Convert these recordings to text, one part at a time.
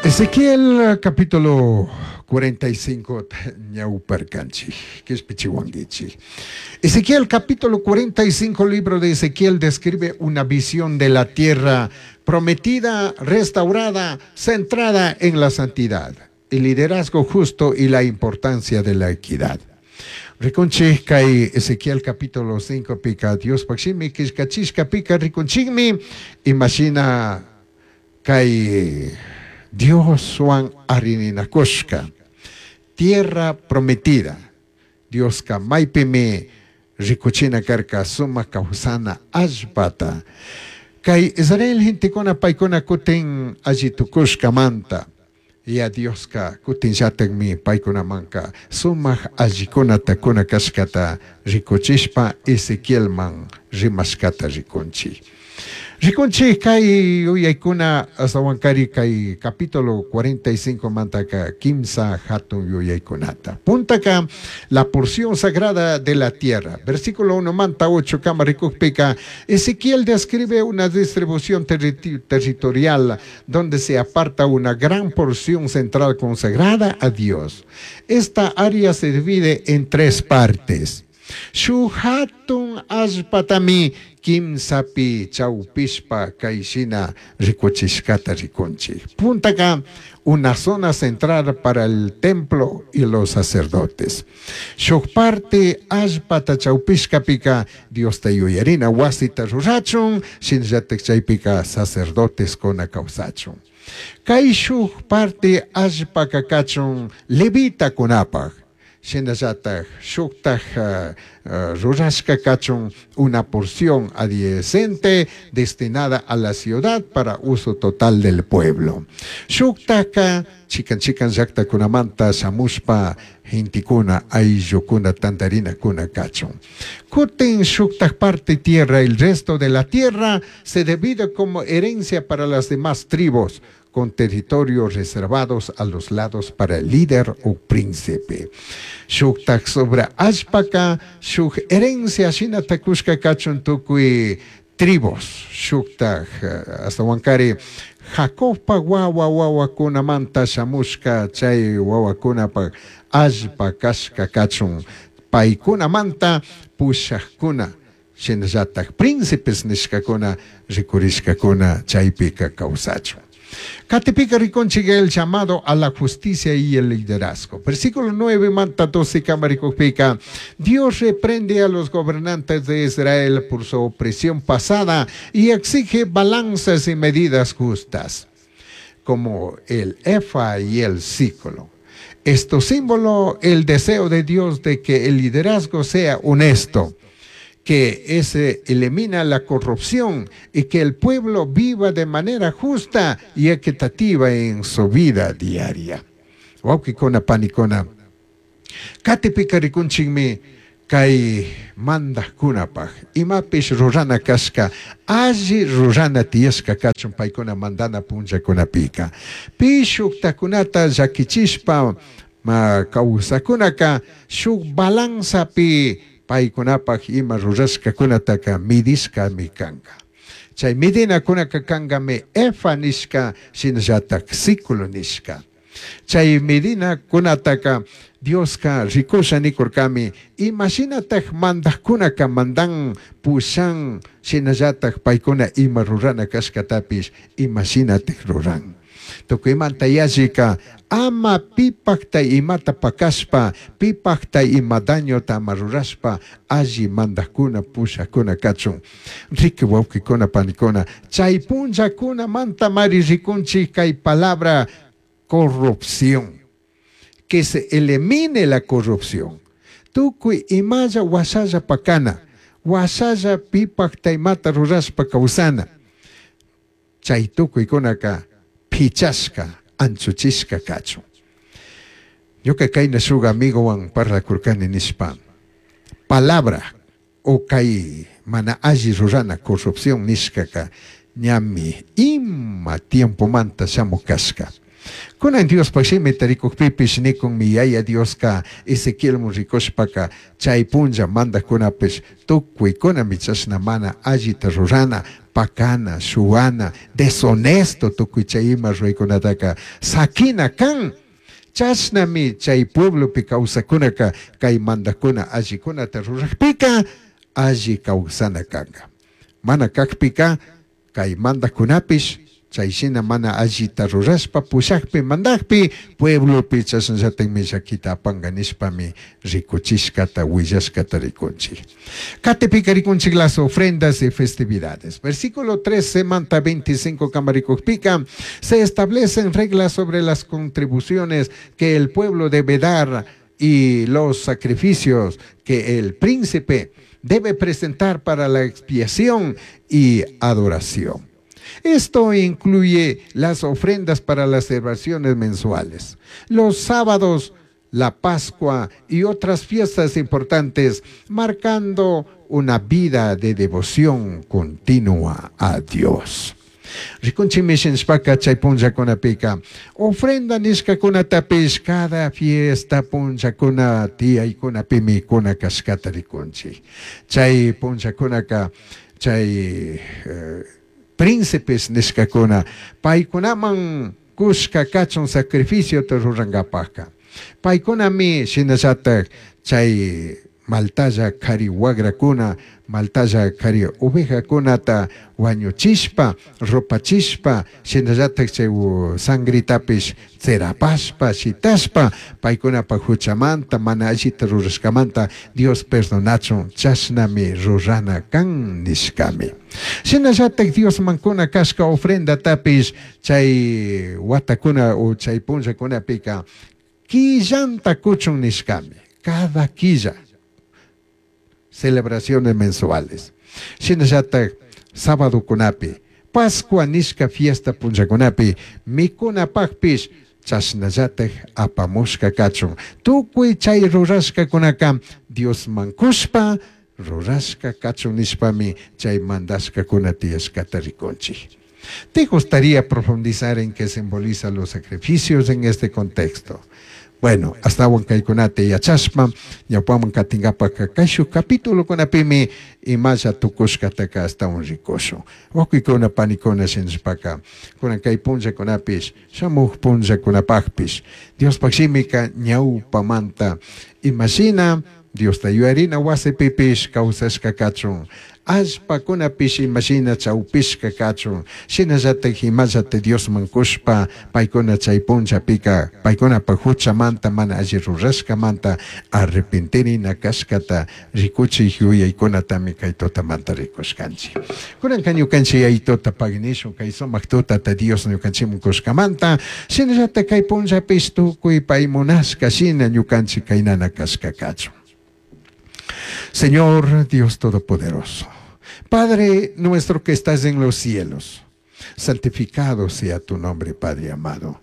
Ezequiel capítulo 45 ñauparkanchik, quishpichihuanguichik. Ezequiel capítulo 45, libro de Ezequiel describe una visión de la tierra prometida, restaurada, centrada en la santidad, el liderazgo justo y la importancia de la equidad. Rikunchik kay Ezequiel capítulo 5 pika Diospaj shimi killkachishka pika rikunchikmi imashina kay Dioswan arininakushka tierra prometida. Dioska maypimi rikuchina karka sumak kawsana allpata. Kay Israel gentekuna paykuna kutin alli tukushkamanta ya Dioska kutinllatakmi paykunamanka sumak allikunata kuna kashkata rikuchishpa Ezequielman rimashkata rikunchik. Rikunchik kay yuyaykuna astawankari kay capítulo 45 mantaka kimsa hatun yuyaykunata. Puntaka la porción sagrada de la tierra. Versículo 1 manta 8 kama rikukpika Ezequiel describe una distribución territorial donde se aparta una gran porción central consagrada a Dios. Esta área se divide en tres partes. Shuj hatun allpatami kimsapi chawpishpa kayshina rikuchishkata rikunchik. Puntaka una zona central para el templo y los sacerdotes. Shuj parte allpata chawpishkapika Diosta yuyarina wasita rurachun, shinallatak chaypika sacerdotes kuna kawsachun. Kay shuj parte allpaka kachun levitakunapaj. Shinallatak shuktaj rurashka kachun una porción adyacente destinada a la ciudad para uso total del pueblo. Shuktaka chikan chikan llaktakunamanta shamushpa gentekuna ayllukuna tantarinakuna kachun. Kutin shuktaj parte tierra, el resto de la tierra se divide como herencia para las demás tribus, con territorios reservados a los lados para el líder o príncipe. Shuktaj sobre allpaka, shuj herencia shinata kushka kachun tukuy tribus. Shuktaj astawankari Jacobpa wawa wawakunamanta shamushka chay wawakunapa allpa kashka kachun paykunamanta pushakuna shinallatak príncipes nishkakuna rikurishkakuna chaypika kawsachun. Katipika rikunchik el llamado a la justicia y el liderazgo. Versículo 9, manta 12, kama rikukpika. Dios reprende a los gobernantes de Israel por su opresión pasada y exige balanzas y medidas justas, como el efa y el siclo. Esto símbolo el deseo de Dios de que el liderazgo sea honesto, que ese elimina la corrupción y que el pueblo viva de manera justa y equitativa en su vida diaria. Wawkikuna panikuna. Katipika rikunchikmi kay mandajkunapaj imapish rurana kashka alli rurana tiyashka kachun paykuna mandana punllakunapika. Pi shuktakunata llakichishpa ma kawsakunaka shuk balanzapi paykunapaj ima rurashkakunataka midishkami kanka. Chay midinakunaka kankami efa nishka shinallatak siclo nishka. Chay medinakunataka Dioska rikusha nikurkami imashinatak mandajkunaka mandan pushan shinallatak paykuna ima rurana kashkatapish imashinatak ruran. Tukuymanta yallika ama pipakta imata pakashpa, pipakta ima dañota ama rurashpa, alli mandajkuna pushakuna kachun. Riki wawkikuna panikuna, chay punllakuna manta mari rikunchik kay palabra corrupción. Que se elimine la corrupción. Tukuy imalla wasalla pakana, wasalla pipakta imata rurashpa kawsana. Chay tukuykunaka pichashka, anchuchishka kachun. Ñuka kayna shuk amigowan parlakurkani nishpa, palabra o kay mana alli rurana corrupción nishkaka ñami ima tiempomanta shamuk kashka. Kunan Diospaj shimita rikujpipish nikunmi Yaya Dioska Ezequielmun rikushpaka chay punlla mandajkunapish tukuikunami chashna mana allita rurana, pakana, shuwana, deshonesto tukuy chay ima ruraykunataka sakina kan. Chashnami chay pueblopi kawsakunaka kay mandajkuna allikunata rurajpika alli kawsana kanka. Mana kakpika kay mandajkunapish chay shina mana allita rurashpa pushakpi mandakpi pueblopi chashnallatakmi llakita apanka nishpami rikuchishkata willashkata rikunchik. Katipika rikunchik las ofrendas y festividades. Versículo 13 manta 25 kamarikukpika se establecen reglas sobre las contribuciones que el pueblo debe dar y los sacrificios que el príncipe debe presentar para la expiación y adoración. Esto incluye las ofrendas para las celebraciones mensuales, los sábados, la Pascua y otras fiestas importantes, marcando una vida de devoción continua a Dios. Rikunchikmi shinashpaka chay punllakunapika ofrenda nishkakunatapish cada fiesta punllakuna tiyaykunapimi kuna kashkata rikunchik. Chay punllakunaka chay príncipes nishkakuna paykunaman kushka kachun sacrificiota rurankapakka. Paykunami shinallatak chay maltalla kari wagrakuna, maltalla kari ovejakunata wañuchishpa, rupachishpa, shinallatak chay sangritapish tsirapashpa, shitashpa, paykunapa huchamanta, mana allita rurashkamanta Dios perdonachun, chashnami rurana kan nishkami. Shinallatak Diosman kuna kashka ofrendatapish chay watakuna o chay punllakunapika quillanta kuchun nishkami, cada quilla. Celebraciones mensuales. Shinallatak sábado kunapi, Pascua nishka fiesta punllakunapi, mikunapakpish chashnallatak apamushka kachun. Tukuy chay rurashkakunaka Diosman kushpa rurashka kachun nishpami chay mandashkakuna tiyashkata rikunchik. ¿Te gustaría profundizar en qué simboliza los sacrificios en este contexto? Bueno, ashtawan kaykunata yachashpa, ñawpaman katingapaka kayshuk capítulo kunapimi imalla tukushkataka ashtawan rikushun. Wawkikuna panikuna shinashpaka, kunan kay punllakunapish, shamuj punllakunapakpish, Diospaj shimika ñawpamanta imashina Diosta yuyarina wasipipish kawsashka kachun, allpakunapish imashina chawpishka kachun, shinallatak imallata Diosman kushpa paykuna chay punllapika paykunapa huchamanta mana alli rurashkamanta arrepentirina kashkata rikuchik yuyaykunatami kay tutamanta rikushkanchik. Kunanka ñukanchik yayituta paginishun kay sumak tutata Dios ñukanchikman kushkamanta, shinallatak kay punllapish tukuy pay munashka shina ñukanchik kaynana kashka kachun. Señor Dios Todopoderoso, Padre nuestro que estás en los cielos, santificado sea tu nombre, Padre amado.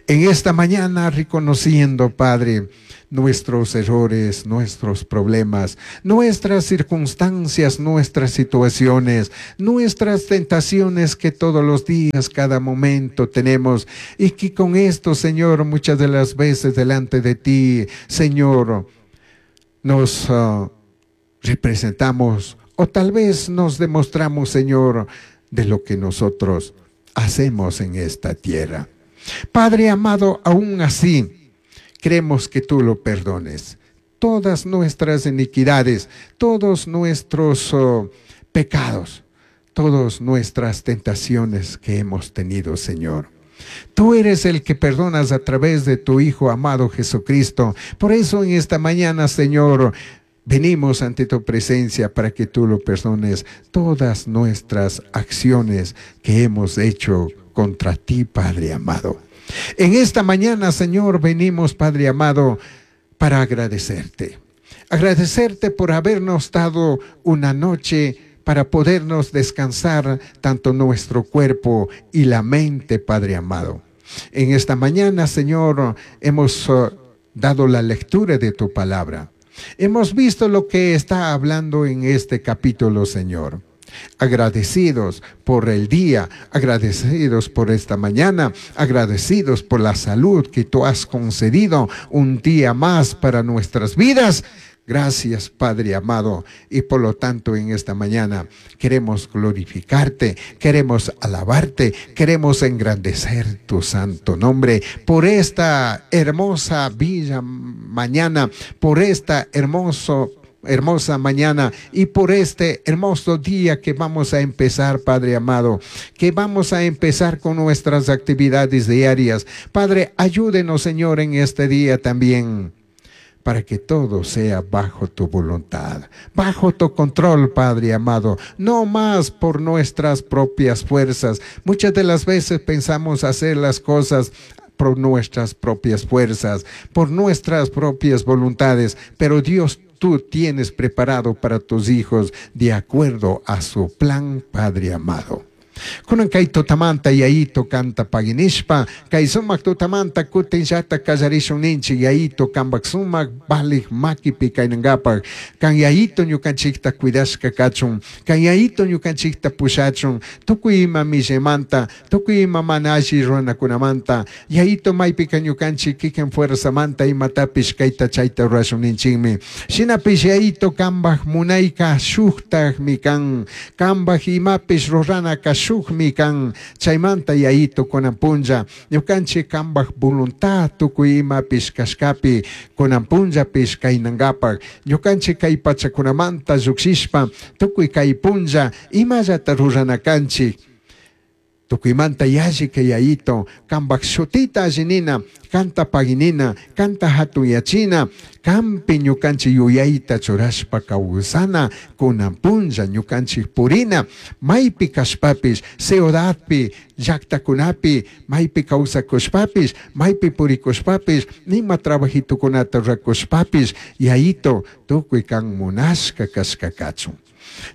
En esta mañana reconociendo, Padre, nuestros errores, nuestros problemas, nuestras circunstancias, nuestras situaciones, nuestras tentaciones que todos los días, cada momento tenemos, y que con esto, Señor, muchas de las veces delante de ti, Señor, nos representamos o tal vez nos demostramos, Señor, de lo que nosotros hacemos en esta tierra. Padre amado, aún así, creemos que tú lo perdones. Todas nuestras iniquidades, todos nuestros pecados, todas nuestras tentaciones que hemos tenido, Señor. Tú eres el que perdonas a través de tu Hijo amado Jesucristo. Por eso en esta mañana, Señor, venimos ante tu presencia para que tú lo perdones todas nuestras acciones que hemos hecho contra ti, Padre amado. En esta mañana, Señor, venimos, Padre amado, para agradecerte. Agradecerte por habernos dado una noche para podernos descansar tanto nuestro cuerpo y la mente, Padre amado. En esta mañana, Señor, hemos dado la lectura de tu palabra. Hemos visto lo que está hablando en este capítulo, Señor. Agradecidos por el día, agradecidos por esta mañana, agradecidos por la salud que tú has concedido un día más para nuestras vidas. Gracias, Padre amado. Y por lo tanto, en esta mañana queremos glorificarte, queremos alabarte, queremos engrandecer tu santo nombre por esta hermosa villa mañana, por esta hermosa mañana y por este hermoso día que vamos a empezar, Padre amado, que vamos a empezar con nuestras actividades diarias. Padre, ayúdenos, Señor, en este día también, para que todo sea bajo tu voluntad, bajo tu control, Padre amado, no más por nuestras propias fuerzas. Muchas de las veces pensamos hacer las cosas por nuestras propias fuerzas, por nuestras propias voluntades, pero Dios, tú tienes preparado para tus hijos de acuerdo a su plan, Padre amado. Kunan kay tutamanta Yayito kanta paginishpa, kay sumak tutamanta kutin llata kallarishun ninchik Yayito kambak sumak valij makipi kaynankapak, kan Yayito ñukanchikta cuidashka kachun, kan Yayito ñukanchikta pushachun, tukuy ima millamanta, tukuy ima mana alli runakunamanta, Yayito maypika ñukanchik kikin fuerzamanta imatapish kayta chayta rurashun ninchikmi. Shinapish Yayito kambak munayka shuktakmi kan, kambak imapish ruranaka shukmi kan, chaymanta Yayito kunan punlla ñukanchik kambak voluntad tukuy imapish kashkapi kunan punllapish kaynankapak, ñukanchik kay pachakunamanta llukshishpa tukuy kay punlla imallata rurana kanchik. Tukuymanta yalli kay Yayito kambak shutita allinina, kanta paginina, kanta hatuyachina, kampi ñukanchik yuyayta churashpa kawsana, kunan punlla ñukanchik purina, maypi kashpapish, ciudadpi, llaktakunapi, maypi kawsakushpapish, maypi purikushpapish, nima trabajitukunata rurakushpapish, Yayito tukuy kan munashka kashka kachun.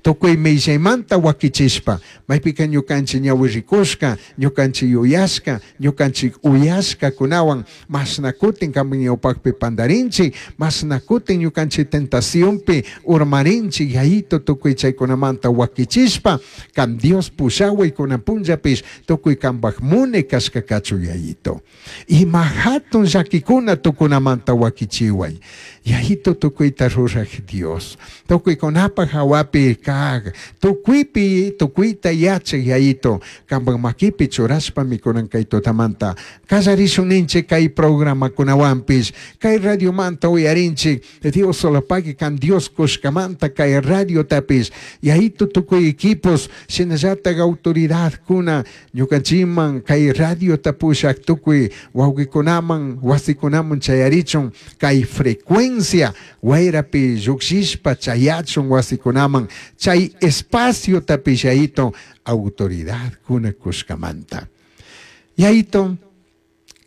Tukuy millaymanta wakichishpa, maypika ñukanchik ñawi rikushka, ñukanchik yuyashka, ñukanchik uyashkakunawan, mashna kutin kanpak ñawpakpi pandarinchik, mashna kutin ñukanchik tentacionpi urmarinchik, Yayito tukuy chaykunamanta wakichishpa, kan Dios pushaway kunan punllapish, tukuy kanpak mune kashka kachun Yayito. Ima hatun llakikuna tukunamanta wakichiway. Yayito tukuyta ruraj Dios, tukuykunapak hawapi kag, tukuypi tukuyta yachaj Yayito, kanpak makipi churashpami kunan kay tutamanta kallarishun ninchik kay programakunawanpish, kay radiomanta uyarinchik, Dios solapaki kan Dios kushkamanta kay radiotapish, Yayito tukuy equipos, shinallatak autoridadkuna ñukanchikman kay radiota pushak tukuy wawqikunaman wasikunaman chayarichun kay frecuencia wayrapi llukshishpa chayachun wasikunaman, chay espacio tapish Yayito autoridadkuna kushkamanta. Yayito,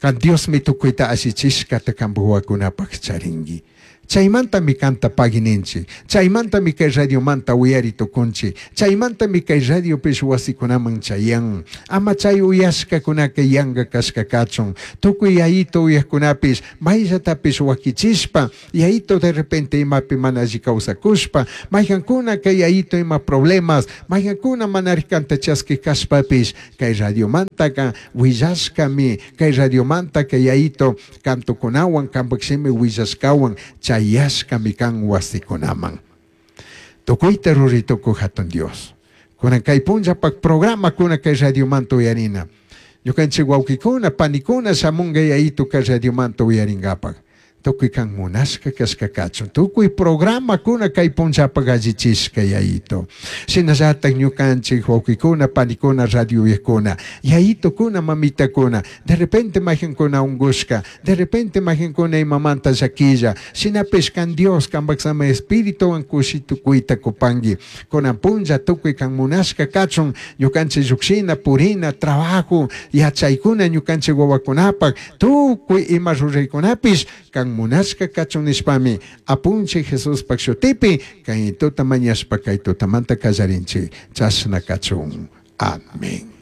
kan Diosmi tukuyta allichishkata kanpak wawakunapak charinki. Chaymantami kanta pagininchik, chaymantami kay radiomanta uyari tukunchik, chaymantami kay radiopish wasikunaman chayan. Ama chay uyashkakunaka yanka kashka kachun. Tukuy Yayito uyajkunapish mayllatapish wakichishpa, Yayito de repente imapi mana alli kawsakushpa, mayqankuna kay Yayito ima problemas, mayqankuna mana kanta chaski kashpapish, kay radiomantaka willashkami, kay radiomantaka Yayito kantukunawan, kanpak shimi willashkawan, chayashkami kan wasikunaman. Tukuyta ruri tukuy hatun Dios. Kunan kay punllapak programa kuna kay radiomanta uyarina. Ñukanchik wawqikuna, panikuna shamunga Yayito kay radiomanta uyarinkapak. Tukuy kan munashka kashka kachun. Tukuy programa kuna kay punllapak allichishka Yayito. Shinallatak ñukanchik wawqikuna, panikuna, radio uyakuna, Yayitokuna, mamitakuna, de repente mayqankuna ungushka, de repente mayqankuna imamanta llakilla, shinapish kan Dios kanpak sama espirituwan kushi tukuyta kupanki. Kunan punlla tukuy kan munashka kachun, ñukanchik llukshina, purina, trabajo, yachaykuna ñukanchik wawakunapak, tukuy ima ruraykunapish kan munashka kachun nishpami, apunchik Jesuspak shutipi, kay tuta mañashpa kay tutamanta kallarinchik, chashna kachun. Amén.